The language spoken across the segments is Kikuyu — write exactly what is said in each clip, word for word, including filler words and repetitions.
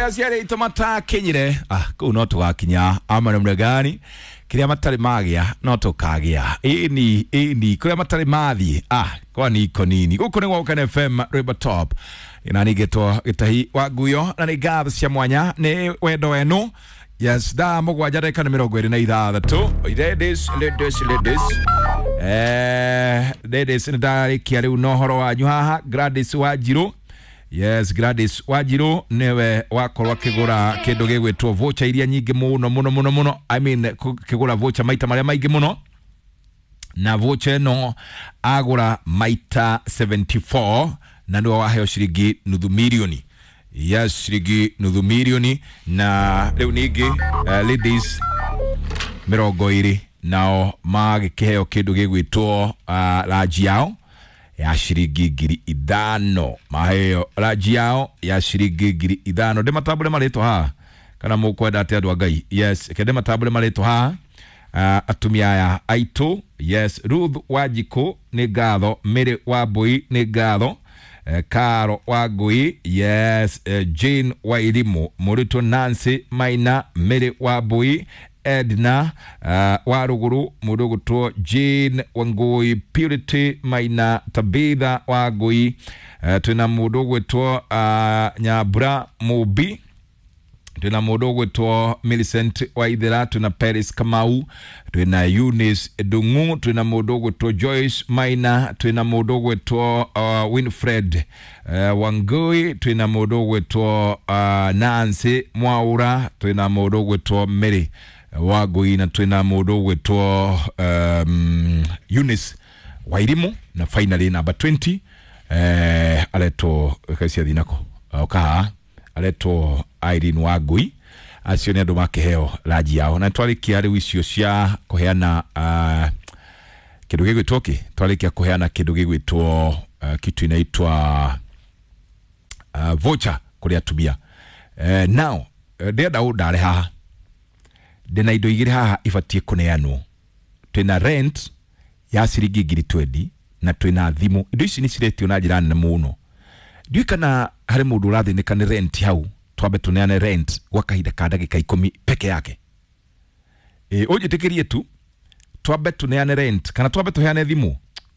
Aciari aitũ matakinyire ah, kũu no tũgakinya ama namna gani kĩrĩa matarĩ magĩa no tũkagĩa ĩni ĩni kũrĩa matarĩ mathiĩ ah, kwani iko nini gũkũ nĩ gwa F M Rwĩmbo Top na ningĩtwo Gĩtahi wa Nguyo na nĩ ngatho cia mwanya nĩ wendo wenu. Yes, thaa mũgwanja ndagĩka nĩ mĩrongo ĩrĩ na ithathatũ. Ladies, ladies, ladies. Eh, ladies nĩ ndarĩkia rĩu na ũhoro wanyu haha. Gladys Wanjiru. Yes, Gladys Wanjiru niwe wakorwo akigura kindu gigwitwo voucher iria nyingi muno muno muno muno. I mean kigura voucher maita maria maingi muno, na voucher ino agura maita seventy-four na niwe waheo ciringi nuthu milioni. Yes, ciringi nuthu milioni. Na riu ningi uh, ladies mirongo iri nao magikiheo kindu gigwitwo uh, ranji yao ya ciringi ngiri ithano. Maheo ranji yao ya ciringi ngiri ithano. Ndimatambure maritwa haha kana mukwenda atia andu a Ngai? Yes, kende matambure maritwa haha. Uh, atumia aya aitu. Yes, Ruth Wanjiku ni ngatho, Mary Wambui ni ngatho, eh, Karo Wangui, yes, eh, Jane Wairimu, Muritu Nancy Maina, Mary Wambui, Edna uh, Waruguru, mundu gutwo Jane Wangui, Purity Maina, Tabitha Wangui, uh, twina mundu gwitwo uh, Nyambura Mubi, twina mundu gwitwo Millicent Waithera, twina Paris Kamau, twina Eunice Ndung'u, twina mundu gwitwo Joyce Maina, twina mundu gwitwo uh, Winfred uh, Wangui, twina mundu gwitwo uh, Nancy Mwaura, twina mundu gwitwo Mary Wangui, na twina mundu gwitwo um, Eunice Wairimu, na finally number twenty eh, aretwo kacia thinako okaha aretwo Irene Wangui. Acio nĩ andũ makĩheo ranji yao. Na twarikia rĩu icio cia kũheana uh, kĩndũ gĩgwĩtwo kĩ twarikia kũheana kĩndũ gĩgwĩtwo uh, kitu inaitwa uh, voucher kũrĩ atumia. Uh, now ndĩrenda ũndare haha, ndĩna indo igĩrĩ haha ibatiĩ kũneanwo. Twĩna rent ya ciringi ngiri twenty na twĩna thimũ. Indo ici nĩ ciretio na njĩra nene mũno. Ndiũĩ kana harĩ mũndũ ũrathĩnĩka nĩ rent hau. Twambe tuneane rent gwa kahinda ka ndagĩka ikũmi peke yake. E, ũnjĩtĩkĩrie tu twambe tuneane rent kana twambe tuheane thimũ,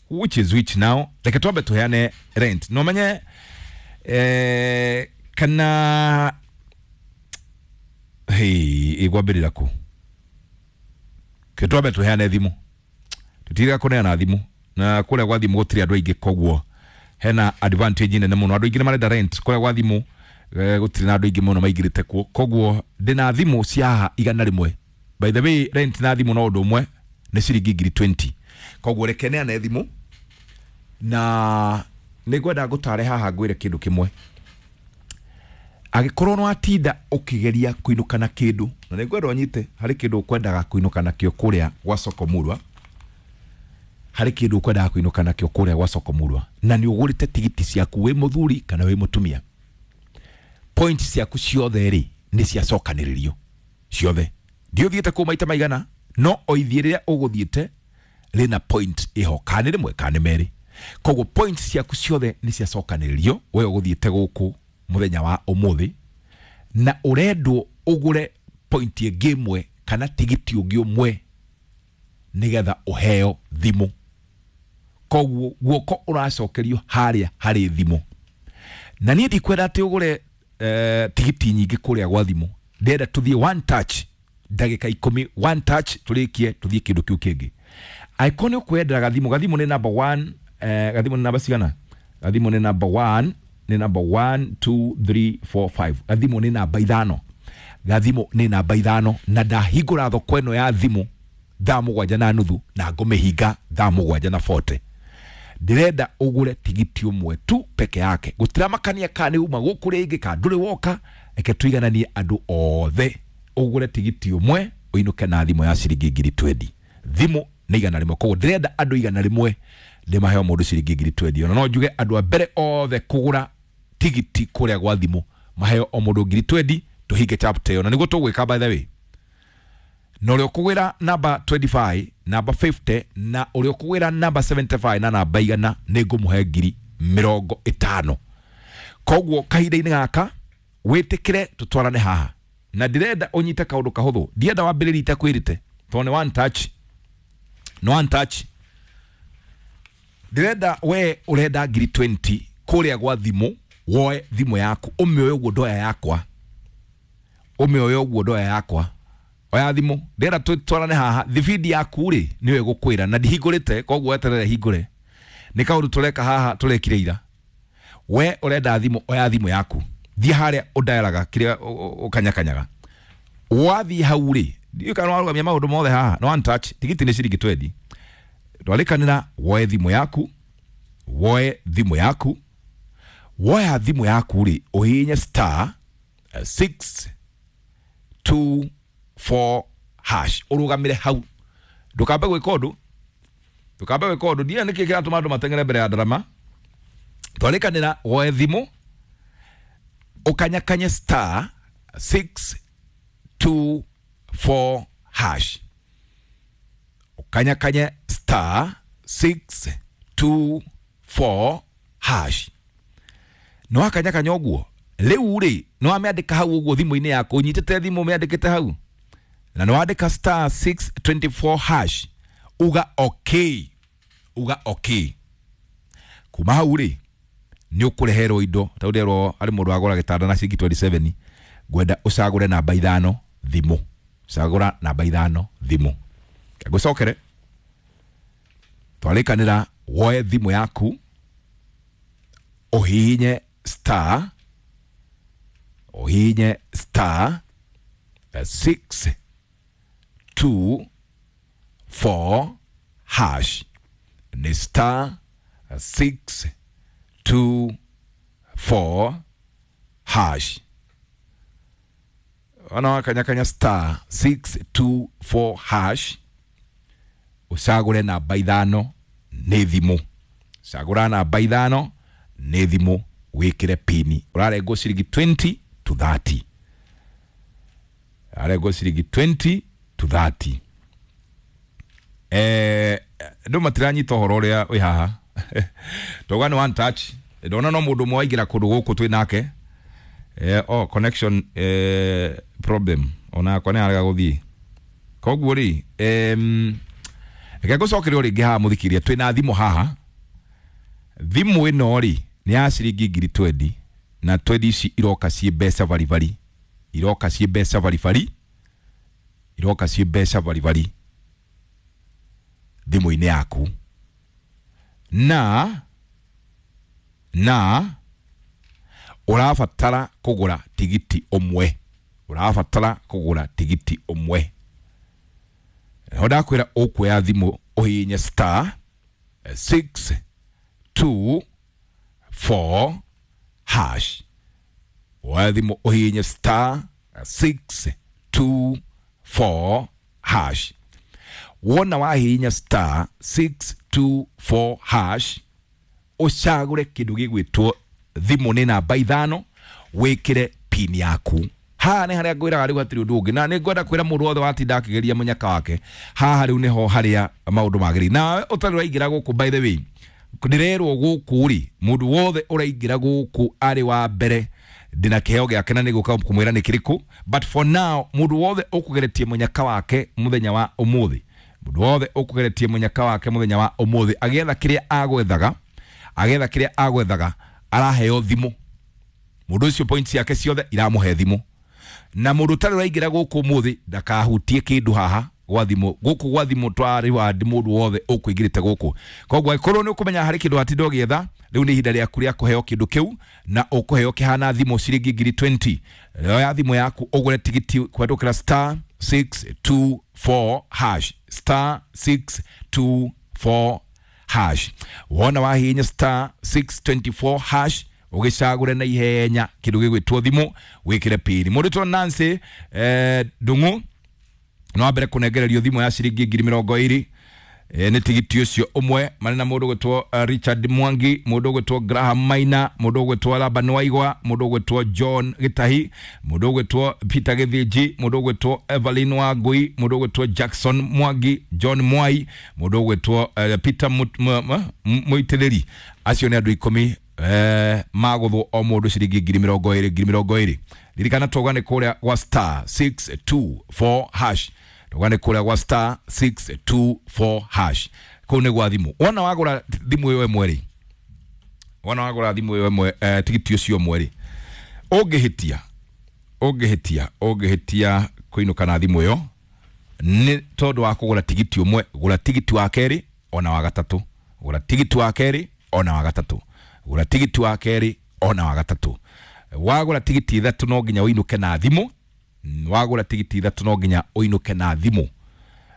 which is which now. Reke twambe tuheane rent no menye eh, kana hey, igwambĩrĩra kũ ke twambe tuheane thimũ. Tutiriga kũneana thimũ na kũrĩa gwa thimũ gũtirĩ andũ aingĩ, koguo hena advantage nene mũno. Andũ aingĩ nĩ marenda rent kũrĩa gwa thimũ gũtirĩ na andũ aingĩ mũno maingĩrĩte kuo, koguo ndĩna thimũ cia haha igana rĩmwe. By the way, rent na thimũ no ũndũ ũmwe, nĩ ciringi ngiri twenty. Koguo reke neane thimũ na nĩngwenda ngũtare haha ngwĩre kĩndũ kĩmwe. Angĩkorwo nĩ watinda ũkĩgeria kũinũka na kĩndũ, na nĩngwenda ũnyite harĩ kĩndũ ũkwendaga kũinũka nakĩo kũrĩa gwa Soko Murwa, harĩ kĩndũ ũkwendaga kũinũka nakĩo kũrĩa gwa Soko Murwa, na nĩ ũgũrĩte tigiti ciaku wĩ mũthuri kana wĩ mũtumia, point ciaku ciothe rĩ nĩ ciacokanĩrĩrio ciothe. Ndiũthiĩte kũu maita maigana, no o ithiĩ rĩrĩa ũgũthiĩte rĩna point ĩho, kana nĩ rĩmwe kana nĩ merĩ. Koguo point ciaku ciothe nĩ ciacokanĩrĩrio we ũgũthiĩte gũkũ mũthenya wa ũmũthĩ, na ũrendwo ũgũre point ĩngĩ ĩmwe kana tigiti ũngĩ ũmwe nĩgetha ũheo thimũ. Koguo guoko ũracokerio harĩa harĩ thimũ. Na niĩ ndikwenda atĩ ũgũre eh, tigiti nyingĩ kũrĩa gwa thimũ. Ndĩrenda tũthiĩ one touch ndagĩka ikũmi, one touch tũrĩkie tũthiĩ kĩndũ kĩu kĩngĩ. Angĩkorwo nĩ ũkwendaga gathimũ, gathimũ nĩ number one, eh, gathimũ nĩ namba cigana? Gathimũ nĩ number one, nĩ number one, two, three, four, five. Gathimũ nĩ namba ithano. Gathimũ nĩ namba ithano, na ndahingũra thoko ĩno ya thimũ thaa mũgwanja na nuthu na ngũmĩhinga thaa mũgwanja na forty. Ndĩrenda ũgũre tigiti ũmwe tu peke yake. Gũtiramakania kana nĩ uma gũkũ rĩngĩ kana ndũrĩ woka, reke tũigananie andũ othe. Ũgũre tigiti ũmwe ũinũke na thimũ ya ciringi ngiri twenty. Thimũ nĩ igana rĩmwe, koguo ndĩrenda andũ igana rĩmwe ndĩmaheo mũndũ ciringi ngiri twenty. Ona no njuge andũ a mbere othe kũgũra tigiti kũrĩa gwa thimũ maheo o mũndũ ngiri twenty, tũhinge chapter ĩyo. Na nĩguo tũgwĩka by the way. Na ũrĩa ũkũgwĩra namba twenty-five, namba fifty, na ũrĩa ũkũgwĩra namba seventy-five na namba igana nĩ ngũmũhe ngiri mĩrongo ĩtano. Koguo kahinda-inĩ gaka Wĩtĩkĩre tũtwarane haha. Na ndĩrenda ũnyite kaũndũ kahũthũ. Ndienda wambĩrĩrie itakwĩrĩte. Tondũ nĩ one touch. Nĩ one touch. Ndĩrenda we ũrenda ngiri twenty kũrĩa gwa thimũ, woe thimũ yaku, ũmĩoe ũguo ndoya yakwa. Ũmĩoe ũguo ndoya yakwa. Oya thimũ, ndĩrenda tũtwarane haha, thibindi yaku rĩ nĩyo ĩgũkwĩra na ndihingũrĩte, koguo weterere hingũre. Nĩ kaũndũ tũreka haha tũrekire ira. We ũrenda thimũ, oya thimũ yaku. Thiĩ harĩa ũndayaraga kĩrĩa ũkanyakanyaga. Wathiĩ hau rĩ, ndiũĩ kana nĩwarũgamia maũndũ mothe haha, no one touch, tigiti nĩ ciringi twenty. Twarĩkanĩra woe thimũ yaku, woe thimũ yaku, woya thimũ yaku rĩ, ũhihinye star six two four hash, ũrũgamĩre hau. Ndũkambe gwĩka ũndũ, ndũkambe gwĩka ũndũ, ndiũĩ nĩkĩ kĩratũma andũ mateng'ere mbere ya ndarama. Twarĩkanĩra woe thimũ, ũkanyakanye star six two four hash. Ũkanyakanye star six two four hash. Nĩ wakanyakanya ũguo, rĩu rĩ, nĩ wamĩandĩka hau ũguo thimũ-inĩ yaku, ũnyitĩte thimũ ũmĩandĩkĩte hau. Na nĩ wandĩka star six twenty four hash, uga okay, uga okay. Kuma hau rĩ, nĩ ũkũreherwo indo, ta ũrerwo harĩ mũndũ wagũra gĩtanda na ciringi twenty seven, ngwenda ũcagũre namba ithano thimũ. Cagũra namba ithano thimũ. Ngũcokere. Twarĩkanĩra woe thimũ yaku, ũhihinye star, ũhihinye star six two four hash. Nĩ star six two four hash. Ona wakanyakanya star six two four hash, ũcagũre namba ithano nĩ thimũ. Cagũra namba ithano nĩ thimũ, wĩkĩre pini. Ũrarengwo ciringi twenty to thirty. Ũrarengwo ciringi twenty to thirty. Eh, andũ matiranyita ũhoro ũrĩa wĩ haha. Tauga nĩ one touch. Ndona no mũndũ ũmwe waingĩra kũndũ gũkũ twĩ nake. Eh, oh, connection eh, problem. Ona yakwa nĩ yarega gũthiĩ. Koguo rĩ, em, reke ngũcokerie o rĩngĩ haha mũthikĩrĩria, twĩna thimũ haha. Thimũ ĩno rĩ, nĩ ya ciringi ngiri twenty, na twenty ici iroka ciĩ mbeca baribari. Iroka ciĩ mbeca baribari. Iroka ciĩ mbeca baribari thimũ-inĩ yaku. Na, na ũrabatara kũgũra tigiti ũmwe. Ũrabatara kũgũra tigiti ũmwe. Ho ndakwĩra ũkuoya thimũ ũhihinye star six two four hash. Woya thimũ ũhihinye star six two four hash. Wona wahihinya star six two four hash, ũcagũre kĩndũ gĩgwĩtwo thimũ nĩ namba ithano, wĩkĩre pin yaku. Haha nĩ harĩa ngwĩraga rĩu hatirĩ ũndũ ũngĩ, na nĩ ngwenda kwĩra mũndũ wothe watinda akĩgeria mũnyaka wake, haha rĩu nĩho harĩa maũndũ magĩrĩire. Nawe ũtarĩ ũraingĩra gũkũ, by the way, ndĩrerwo gũkũ rĩ, mũndũ wothe ũraingĩra gũkũ arĩ wa mbere ndĩna kĩheo gĩake na nĩgũka kũmwĩra nĩ kĩrĩkũ, but for now mũndũ wothe ũkũgeretie mũnyaka wake mũthenya wa ũmũthĩ, mũndũ wothe ũkũgeretie mũnyaka wake mũthenya wa ũmũthĩ agĩetha kĩrĩa agwethaga, agĩetha kĩrĩa agwethaga araheo thimũ. Mũndũ ũcio points ciake ciothe iramũhe thimũ. Na mũndũ ũtarĩ ũraingĩra gũkũ ũmũthĩ ndakahutie kĩndũ haha gwa thimũ. Gũkũ gwa thimũ twarĩ wandi mũndũ wothe ũkũingĩrĩte gũkũ. Koguo angĩkorwo nĩ ũkũmenya harĩ kĩndũ watinda ũgĩetha, rĩu nĩ ihinda rĩaku rĩa kũheo kĩndũ kĩu, na ũkũheo kĩhana thimũ ciringi ngiri twenty. Oya thimũ yaku ũgũre tigiti kũhetũkĩra star six two four hash, star six two four hash. Wona wahihinya star six twenty four hash, ũgĩcagũre na ihenya kĩndũ gĩgwĩtwo thimũ, wĩkĩre pini. Mũndũ wĩtwo Nancy, eh, Ndung'u no ambere kũnengererio thimũ ya ciringi ngiri mĩrongo ĩrĩ. Eh, nĩ tigiti ũcio ũmwe. Marĩ na mũndũ ũgwĩtwo, uh, Richard Mwangi, mũndũ ũgwĩtwo Graham Maina, mũndũ ũgwĩtwo Laban Waigwa, mũndũ ũgwĩtwo John Gĩtahi, mũndũ ũgwĩtwo Peter Gĩthĩnji, mũndũ ũgwĩtwo Evelyn Wangui, mũndũ ũgwĩtwo Jackson Mwangi, John Mwai, mũndũ ũgwĩtwo, uh, Peter Mũitĩrĩri. Acio nĩ andũ ikũmi eh maguthwo o mundu ciringi ngiri mirongo iri ngiri mirongo iri. Ririkana twauga ni kuria gwa star six two four hash, twauga ni kuria gwa star six two four hash, kuu ni gwa thimu. Wona wagura thimu iyo ĩmwe rĩ, wona wagura thimu iyo ĩmwe eh, tigiti ucio ũmwe rĩ, ũngĩhĩtia ũngĩhĩtia ũngĩhĩtia kũinũka na thimu ĩyo nĩ tondũ wa kũgũra tigiti ũmwe, gũra tigiti wa kerĩ ona wa gatatũ, gũra tigiti wa kerĩ ona wa gatatũ, gũra tigiti wa kerĩ ona wa gatatũ. Wagũra tigiti ithatũ no nginya ũinũke na thimũ, wagũra tigiti ithatũ no nginya ũinũke na thimũ,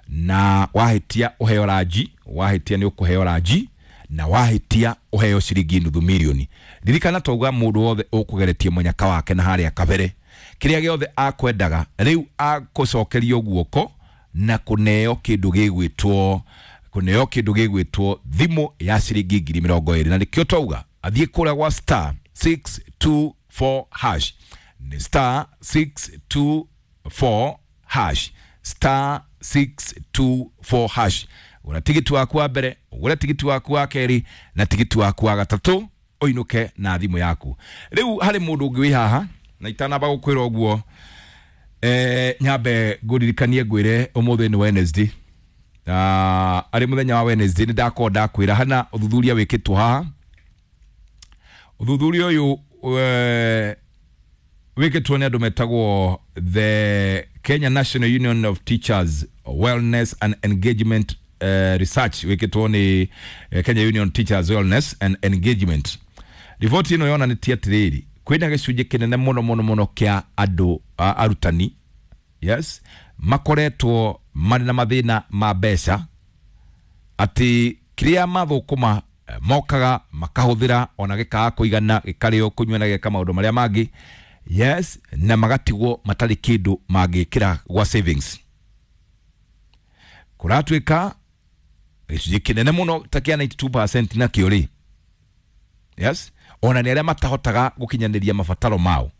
na wahĩtia ũheo ranji, wahĩtia nĩ ũkũheo ranji, na wahĩtia ũheo ciringi nuthu mirioni. Ririkana twauga mũndũ wothe ũkũgeretie mũnyaka wake na harĩa kabere, kĩrĩa gĩothe akwendaga rĩu akũcokerio guoko na kũneo kĩndũ gĩgwĩtwo kũneo kĩndũ gĩgwĩtwo thimũ ya ciringi ngiri mĩrongo ĩrĩ. Na nĩkĩo twauga athiĩ kũrĩa gwa star six two four hash, ni star six two four hash, star six two four hash. Gũra tigiti waku wa mbere, ũgũre tigiti waku wa kerĩ na tigiti waku wa gatatũ, ũinũke na thimũ yaku. Rĩu harĩ mũndũ ũngĩ wĩ haha na itanamba gũkwĩra ũguo, eh, nyambe ngũririkanie ngwĩre ũmũthĩ nĩ Wednesday. Na arĩ mũthenya wa Wednesday nĩ ndakorwo ndakwĩra hana ũthuthuria wĩkĩtwo haha. Ũthuthuria ũyũ eh, wĩkĩtwo nĩ andũ metagwo the Kenya National Union of Teachers Wellness and Engagement uh, Research, wĩkĩtwo nĩ eh, Kenya Union Teachers Wellness and Engagement. Riboti ĩno yonanĩtie atĩrĩrĩ, kwĩna gĩcunjĩ kĩnene mũno mũno mũno kĩa andũ arutani, yes, makoretwo marĩ na mathĩna ma mbeca, atĩ kĩrĩa mathũkũma mokaga makahũthĩra ona gĩkaga kũigana, gĩkarĩo kũnyua na gĩka maũndũ marĩa mangĩ, yes, na magatigwo matarĩ kĩndũ mangĩkĩra gwa savings. Kũratuĩka gĩcunjĩ kĩnene mũno ta kĩa ninety-two percent nakĩo rĩ, yes, ona nĩ arĩa matahotaga gũkinyanĩria mabataro mao.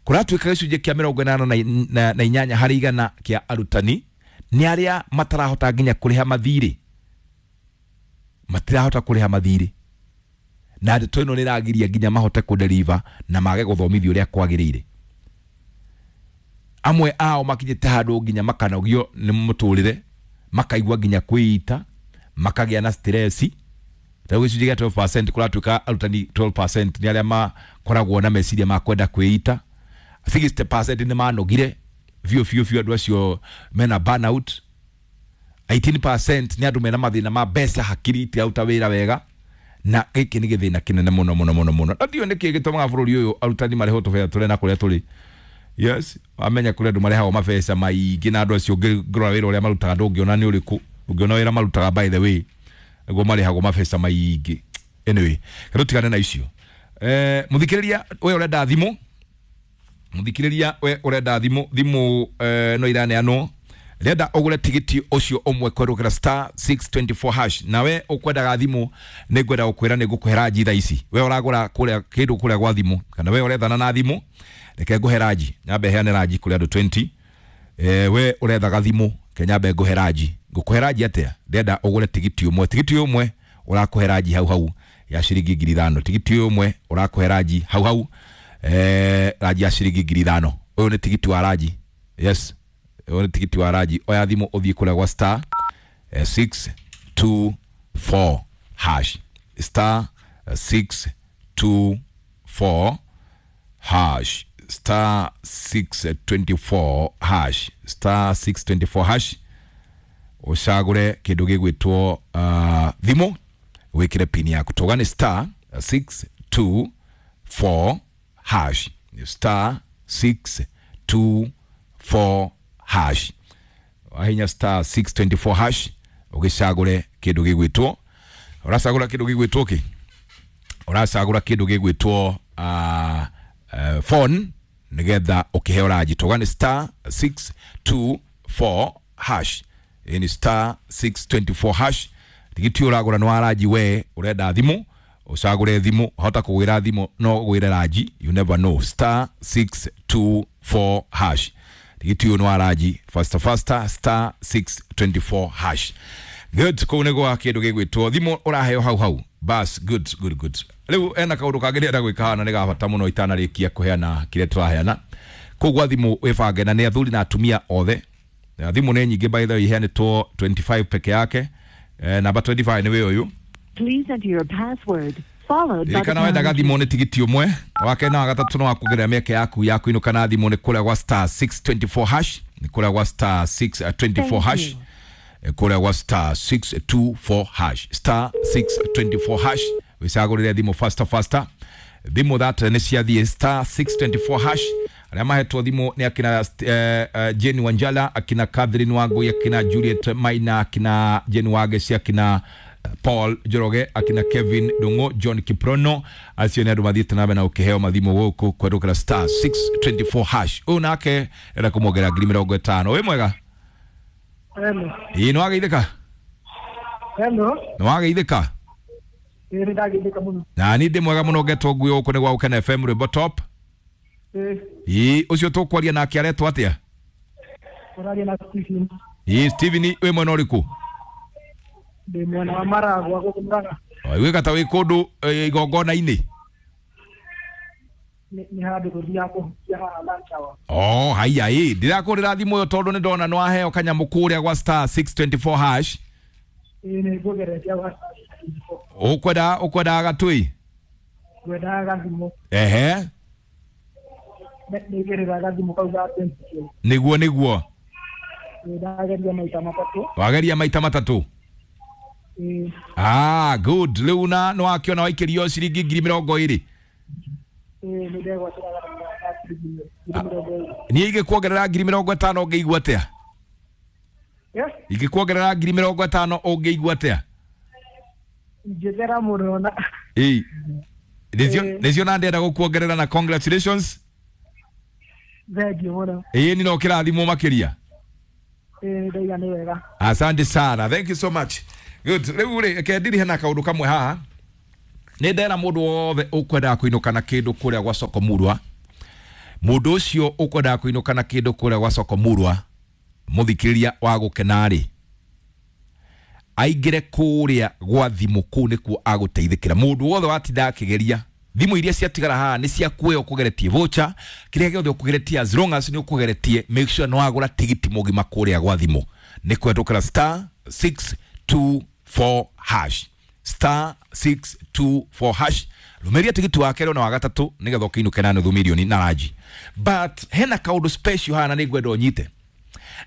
Kũratuĩka gĩcunjĩ kĩa mĩrongo ĩnana na, na inyanya harĩ igana kĩa arutani nĩ arĩa matarahota nginya kũrĩha mathirĩ, matirahota kũrĩha mathirĩ, na ndeto ĩno nĩ ĩragiria nginya mahote kũdeliver na mage gũthomithio ũrĩa kwagĩrĩire. Amwe ao makinyĩte handũ nginya makanogio nĩ mũtũrĩre, makaigua nginya kwĩita, makagĩa na stress. Ta gĩcunjĩ kĩa twelve percent kũratuĩka arutani twelve percent nĩ arĩa makoragwo na meciria ma kwenda kwĩita, sixty percent nĩ manogire biũ biũ biũ, andũ acio mena burnout, eighteen percent nĩ andũ mena mathĩna ma mbeca, hakiri itiraruta wĩra wega, na gĩkĩ nĩ gĩthĩna kĩnene mũno mũno mũno mũno. Na ndiũĩ nĩkĩ gĩtũmaga bũrũri ũyũ arutani marĩhwo tũbeca tũrĩa na kũrĩa tũrĩ. Yes, amenya kũrĩa andũ marĩhagwo mabeca maingĩ, na andũ acio ũngĩrora wĩra ũrĩa marutaga ndũngĩona nĩ ũrĩkũ, ũngĩona wĩra marutaga by the way nĩguo marĩhagwo mabeca maingĩ. Anyway, tũtigane na icio. Eh, mũthikĩrĩria we ũrenda thimũ, mũthikĩrĩria we ũrenda thimũ, thimũ eh, no iraneanwo, renda ũgũre tigiti ũcio ũmwe kwerũkĩra star six twenty four hash. Nawe ũkwendaga thimũ nĩ ngwenda gũkwĩra nĩ ngũkũhe ranji thaa ici. We ũragũra kũrĩa kĩndũ kũrĩa gwa thimũ, kana we ũrethana na thimũ, reke ngũhe ranji, nyambe heane ranji kũrĩ andũ twenty. Eh, we ũrethaga thimũ, ke nyambe ngũhe ranji. Ngũkũhe ranji atĩa? Ndenda ũgũre tigiti ũmwe, tigiti ũmwe ũrakũhe ranji hau hau ya ciringi ngiri ithano, tigiti ũmwe ũrakũhe ranji hau hau eh, ranji ya ciringi ngiri ithano. Ũyũ nĩ tigiti wa ranji, yes, ũyũ nĩ tigiti wa ranji. Oya thimũ ũthiĩ kũrĩa gwa star six two four hash, star six two four hash, star six twenty four hash, star six twenty four hash, ũcagũre kĩndũ gĩgwĩtwo uh, thimũ, wĩkĩre pin yaku. Tũga nĩ star six two four hash, star six two four hash. Wahinya star six twenty four hash ũgĩcagũre kĩndũ gĩgwĩtwo, ũracagũra kĩndũ gĩgwĩtwo kĩ, ũracagũra kĩndũ gĩgwĩtwo uh, uh, phone nĩgetha ũkĩheo ranji. Tũga nĩ star six two four hash, ni star six twenty four hash. Tigiti ũragũra nĩ wa ranji, we ũrenda thimũ, ũcagũre thimũ, hota kũgwĩra thimũ no ũgwĩre ranji, you never know. Star six two four hash, tigiti ũyũ nĩ wa ranji, faster faster, star six twenty four hash. Good, kũu nĩ gwa kĩndũ gĩgwĩtwo thimũ ũraheo hau hau. Bas, good good good. Rĩu ena kaũndũ kangĩ ndĩrenda gwĩka haha na nĩ ga bata mũno itanarĩkia kũheana kĩrĩa tũraheana. Koguo thimũ wĩbange na nĩ athuri na atumia othe. Na thimũ nĩ nyingĩ, by the way, iheanĩtwo mĩrongo ĩrĩ na ithano peke yake. Eh, namba mĩrongo ĩrĩ na ithano nĩ wĩ ũyũ. Please enter your password followed by the Ririkana wendaga pound key. thimũ nĩ tigiti ũmwe wake na wa gatatũ no wakuongerera mĩeke yaku ya kũinũka na thimũ nĩ kũrĩa gwa star six two four hash, nĩ kũrĩa gwa star six two four Thank hash. you. Eh, kũrĩa gwa star six two four hash, star six two four hash, wĩcagũrĩre thimũ faster faster. Thimũ that nĩ ciathiĩ star six two four hash. Arĩa mahetwo thimũ nĩ akina eh, eh, Jane Wanjala, akina Catherine Wangui, akina Juliet Maina, akina Jane Wageci, akina Paul Njoroge, akina Kevin Ndung'u, John Kiprono. Acio nĩ andũ mathiĩte na mbere na gũkĩheo mathimũ gũkũ kũhetũkĩra star six two four hash. Ũyũ nake enda kũmwongerera ngiri mĩrongo ĩtano. Wĩ mwega? Hello. Ĩĩ, nĩ wageithĩka? Hello. Nĩ wageithĩka? Ĩĩ, nĩ ndageithĩka mũno. Na niĩ ndĩ mwega mũno, ngetwo ngui gũkũ nĩ gwa Gũkena F M, rwĩmbo top. Ĩĩ. Ĩĩ, ũcio tũkwaria nake aretwo atĩa? Ũraria na Stephen. Ĩĩ, Steven, wĩ mwena ũrĩkũ? Ndĩ mwena wa Maragwa gũkũ Murang'a. Wĩka ta wĩ kũndũ eh, igongona-inĩ. Nĩ nĩ handũ tũthiaga kũhukia haha lunch hour. Oh, haiya, ĩ ndirakũrĩra thimũ ĩyo tondũ nĩ ndona nĩ waheo kanyamũ kũrĩa gwa star six two four hash. Ĩĩ, nĩ ngũgeretie gwa ũkwenda ũkwendaga gatui? Ngwendaga gathimũ. Ehe. Nĩ nĩigĩrĩra gathimũ kau ga twenty K. Nĩguo nĩguo. Ĩĩ, ndageria maita matatũ. Wageria maita matatũ? Ĩĩ. Ah, good. Rĩu na nĩ wakĩona waikĩrio ciringi ngiri mĩrongo ĩrĩ. Ĩĩ, nĩ ndegwatĩra gathimũ ga ciringi ngiri mĩrongo ĩrĩ. Niĩ ingĩkuongerera ngiri mĩrongo ĩtano ũngĩigua atĩa? Yes. Ingĩkuongerera ngiri mĩrongo ĩtano ũngĩigua atĩa? Ingĩthera mũno na Ĩĩ, nĩcio Ĩĩ. nĩcio na ndĩrenda gũkuongerera na congratulations. Thengiũ mũno. Ĩĩ, ni no kĩrathimwo makĩria. Ĩĩ, ndaiga nĩ wega. Asante sana, thank you so much. Good. Rĩu rĩ, reke ndirihe na kaũndũ kamwe haha. Nĩ ndera mũndũ wothe ũkwendaga kũinũka na kĩndũ kũrĩa gwa soko murwa, mũndũ ũcio ũkwendaga kũinũka na kĩndũ kũrĩa gwa soko murwa, mũthikĩrĩria wa gũkena rĩ, aingĩre kũrĩa gwa thimũ. Kũu nĩkuo agũteithĩkĩra. Mũndũ wothe watinda akĩgeria thimũ iria ciatigara haha nĩ ciaku, we ũkũgeretie voucher, kĩrĩa gĩothe ũkũgeretie, as long as nĩ ũkũgeretie, make sure nĩ wagũra tigiti mũgima kũrĩa gwa thimũ nĩ kũhetũkĩra star six two four hash, star six two four hash. Rũmĩrĩria tigiti wa kerĩ na wa gatatũ nĩgetha ũkĩinũke na nuthu mirioni na ranji. But hena kaũndũ special haha na nĩ ngwenda ũnyite.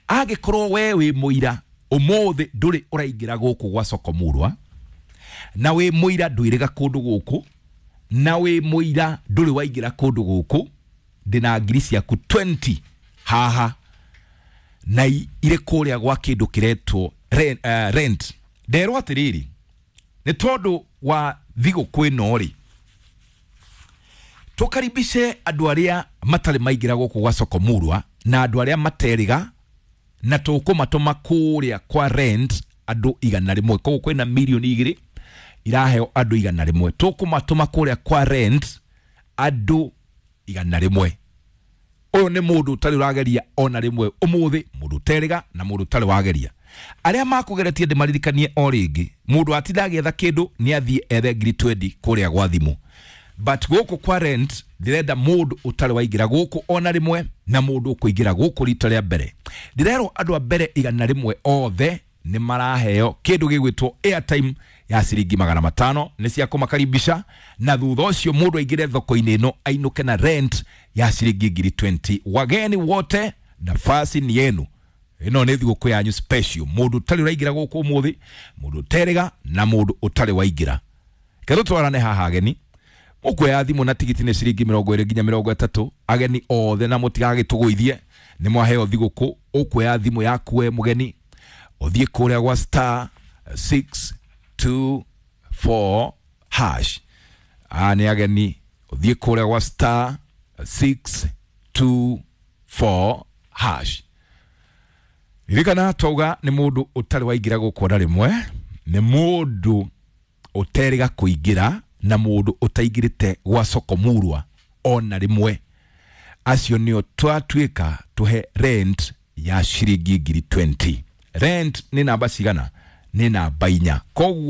Angĩkorwo we wĩ mũira ũmũthĩ ndũrĩ ũraingĩra gũkũ gwa soko murwa, na wĩ mũira ndwĩrĩga kũndũ gũkũ, na wĩ mũira ndũrĩ waingĩra kũndũ gũkũ, ndĩna ngiri ciaku mĩrongo ĩrĩ haha na i- irĩ kũrĩa gwa kĩndũ kĩretwo rent, uh, rent. Nderwo atĩrĩrĩ, nĩ tondũ wa thigũkũ ĩno rĩ, tũkaribishe andũ arĩa matarĩ maingĩra gũkũ gwa soko murwa na andũ arĩa materiga, na tũkũmatũma kũrĩa kwa rent andũ igana rĩmwe. Koguo kwĩna mirioni igĩrĩ iraheo andũ igana rĩmwe. Tũkũmatũma kũrĩa kwa rent andũ igana rĩmwe. Ũyũ nĩ mũndũ ũtarĩ ũrageria ona rĩmwe ũmũthĩ, mũndũ ũterĩga na mũndũ ũtarĩ wageria. Arĩa makũgeretie, ndĩmaririkanie o rĩngĩ, mũndũ atinda agĩetha kĩndũ nĩ athiĩ ethe ngiri mĩrongo ĩrĩ kũrĩa gwa thimũ. But gũkũ kwa rent ndĩrenda mũndũ ũtarĩ waingĩra gũkũ ona rĩmwe na mũndũ ũkũingĩra gũkũ rita rĩa mbere. Ndĩrerwo andũ a mbere igana rĩmwe othe nĩ maraheo kĩndũ gĩgwĩtwo airtime ya ciringi magana matano, nĩ cia kũmakaribisha, na thutha ũcio mũndũ aingĩre thoko-inĩ ĩno ainũke na rent ya ciringi ngiri mĩrongo ĩrĩ. Wageni wote, nafasi ni yenu. Ĩno nĩ thigũkũ yanyu special. Mũndũ ũtarĩ ũraingĩra gũkũ ũmũthĩ, mũndũ ũterĩga na mũndũ ũtarĩ waingĩra. Ketũ twarane haha, ageni mũkuoya thimũ na tigiti nĩ ciringi mĩrongo ĩrĩ nginya mĩrongo ĩtatũ. Ageni othe, na mũtigagĩtũgũithie, nĩ mwaheo thigũkũ. Ũkuoya thimũ yaku we mũgeni, ũthiĩ kũrĩa gwa star six two four hash. Aya nĩ ageni, ũthiĩ kũrĩa gwa star six two four hash. Ririkana twauga nĩ mũndũ ũtarĩ waingĩra gũkũ ona rĩmwe, nĩ mũndũ ũterĩga kũingĩra na mũndũ ũtaingĩrĩte gwa soko murwa ona rĩmwe. Acio nĩo twatuĩka tũhe rent ya ciringi ngiri mĩrongo ĩrĩ. Rent nĩ namba cigana? Nĩ namba inya. Koguo